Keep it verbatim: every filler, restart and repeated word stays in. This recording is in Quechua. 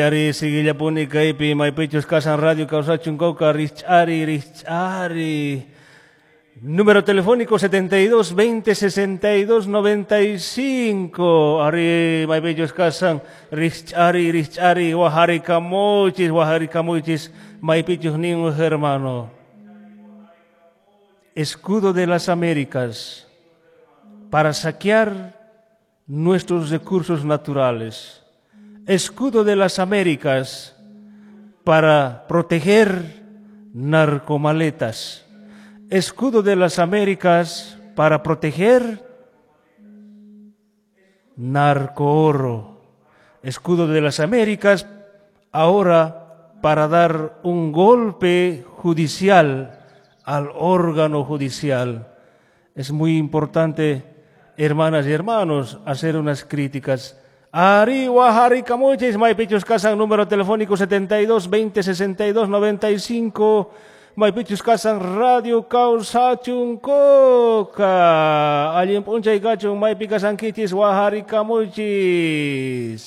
Ari siguillapuni kaypi maypichus kasan radio kawsachun Coca rich'ari rich'ari. Número telefónico setenta y dos veinte sesenta y dos noventa y cinco. Ari maypichus kasan rich'ari rich'ari wahari kamuchis wahari kamuchis maypichus nin hermano. Escudo de las Américas para saquear nuestros recursos naturales. Escudo de las Américas para proteger narcomaletas. Escudo de las Américas para proteger narcooro. Escudo de las Américas ahora para dar un golpe judicial al órgano judicial. Es muy importante, hermanas y hermanos, hacer unas críticas. Ari wahari kamuchis, maypichus kasan, número telefónico setenta y dos veinte sesenta y dos noventa y cinco. Maypichus kasan radio kawsachun Coca. Allin p'unchay kachun maypi kasankichis wahari kamuchis.